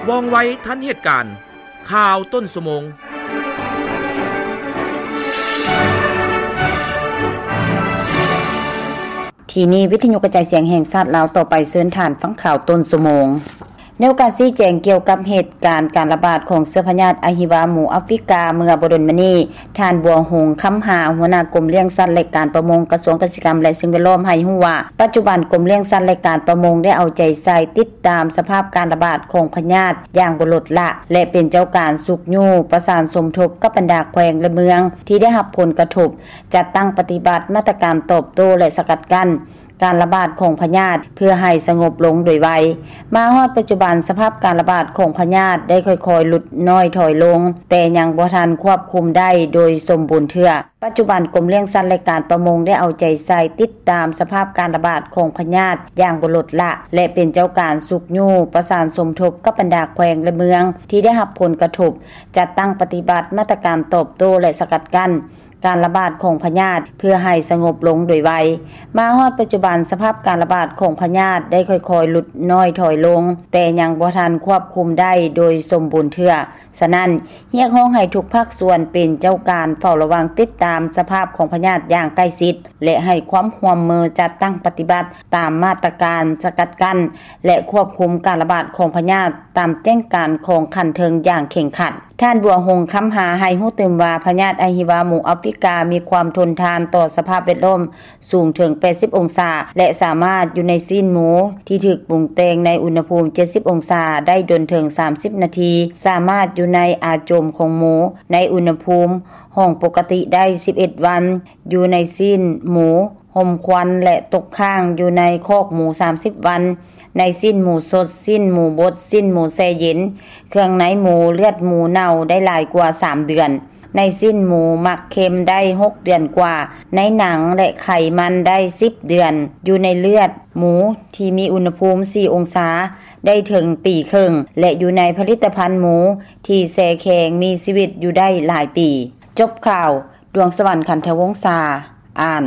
ວ່ອງໄວທັນເຫດການ. ຂ່າວຕົ້ນຊົ່ວໂມງ. ທີ່ນີ້ວິທະຍຸກະຈາຍສຽງແຫ່ງຊາດລາວ, ຕໍ່ໄປເຊີນທ່ານຟັງຂ່າວຕົ້ນຊົ່ວໂມງ. ໃນໂອກາດຊີ້ແຈງກ່ຽວກັບເຫດການການລະບາດຂອງເຊື້ອພະຍາດອະຫິວາໝູອາຟຣິກາເມື່ອບໍ່ດົນມານີ້, ທ່ານ ບົວຫົງ ຄຳຫາ ຫົວໜ້າກົມລ້ຽງສັດ ແລະ ການປະມົງ ກະຊວງກະສິກຳ ແລະ ສິ່ງແວດລ້ອມ ໃຫ້ຮູ້ວ່າ ປັດຈຸບັນກົມລ້ຽງສັດ ແລະ ການປະມົງ ໄດ້ເອົາໃຈໃສ່ຕິດຕາມສະພາບການລະບາດຂອງພະຍາດຢ່າງບໍ່ລົດລະ ແລະ ເປັນເຈົ້າການຊຸກຍູ້ປະສານສົມທົບກັບບັນດາແຂວງ ແລະ ເມືອງທີ່ໄດ້ຮັບຜົນກະທົບ, ຈັດຕັ້ງປະຕິບັດມາດຕະການຕອບໂຕ້ ແລະ ສະກັດກັ້ນ ການລະບາດຂອງພະຍາດ ເພື່ອໃຫ້ສະຫງົບລົງໂດຍໄວ. ມາຮອດປັດຈຸບັນ, ສະພາບການລະບາດຂອງພະຍາດໄດ້ຄ່ອຍໆຫຼຸດນ້ອຍຖອຍລົງ, ແຕ່ຍັງບໍ່ທັນຄວບຄຸມໄດ້ໂດຍສົມບູນເທື່ອ. ປັດຈຸບັນ, ກົມລ້ຽງສັດ ແລະ ການປະມົງ ໄດ້ເອົາໃຈໃສ່ຕິດຕາມສະພາບການລະບາດຂອງພະຍາດຢ່າງບໍ່ລົດລະ ແລະ ເປັນເຈົ້າການຊຸກຍູ້ປະສານສົມທົບກັບບັນດາແຂວງ ແລະ ເມືອງທີ່ໄດ້ຮັບຜົນກະທົບ, ຈັດຕັ້ງປະຕິບັດມາດຕະການຕອບໂຕ້ ແລະ ສະກັດກັ້ນ ການລະບາດຂອງພະຍາດ ເພື່ອໃຫ້ສະຫງົບລົງໂດຍໄວ. ມາຮອດປັດຈຸບັນ, ສະພາບການລະບາດຂອງພະຍາດໄດ້ຄ່ອຍໆຫຼຸດນ້ອຍຖອຍລົງ, ແຕ່ຍັງບໍ່ທັນຄວບຄຸມໄດ້ໂດຍສົມບູນເທື່ອ. ສະນັ້ນ, ຮຽກຮ້ອງໃຫ້ທຸກພາກສ່ວນເປັນເຈົ້າການເຝົ້າລະວັງຕິດຕາມສະພາບຂອງພະຍາດຢ່າງໃກ້ຊິດ ແລະ ໃຫ້ຄວາມຮ່ວມມືຈັດຕັ້ງປະຕິບັດຕາມມາດຕະການສະກັດກັ້ນ ແລະ ຄວບຄຸມການລະບາດຂອງພະຍາດຕາມແຈ້ງການຂອງຂັ້ນເທິງຢ່າງເຄັ່ງຄັດ. ທ່ານ ບົວຫົງ ຄຳຫາ ໃຫ້ຮູ້ຕື່ມວ່າ ພະຍາດອະຫິວາໝູອາຟຣິກາມີຄວາມທົນທານຕໍ່ສະພາບແວດລ້ອມສູງເຖິງແປດສິບອົງສາ ແລະ ສາມາດຢູ່ໃນຊີ້ນໝູທີ່ຖືກປຸງແຕ່ງໃນອຸນຫະພູມເຈັດສິບອົງສາໄດ້ດົນເຖິງສາມສິບນາທີ, ສາມາດຢູ່ໃນອາຈົມຂອງໝູໃນອຸນຫະພູມຫ້ອງປົກກະຕິໄດ້ສິບເອັດວັນ, ຢູ່ໃນຊີ້ນໝູ ຮົມຄວັນ ແລະ ຕົກຄ້າງຢູ່ໃນຄອກໝູສາມສິບວັນ, ໃນຊີ້ນໝູສົດ, ຊີ້ນໝູບົດ, ຊີ້ນໝູແຊ່ເຢັນ, ເຄື່ອງໃນໝູ, ເລືອດໝູເນົ່າໄດ້ຫຼາຍກວ່າສາມເດືອນ, ໃນຊີ້ນໝູໝາກເຄັມໄດ້ຫົກເດືອນກວ່າ, ໃນໜັງ ແລະ ໄຂມັນໄດ້ສິບເດືອນ, ຢູ່ໃນເລືອດໝູທີ່ມີອຸນຫະພູມສີ່ອົງສາໄດ້ເຖິງປີເຄິ່ງ ແລະ ຢູ່ໃນຜະລິດຕະພັນໝູທີ່ແຊ່ແຂງມີຊີວິດຢູ່ໄດ້ຫຼາຍປີ. ຈົບຂ່າວ. ດວງສະຫວັນ ຂັນທະວົງສາ ອ່ານ.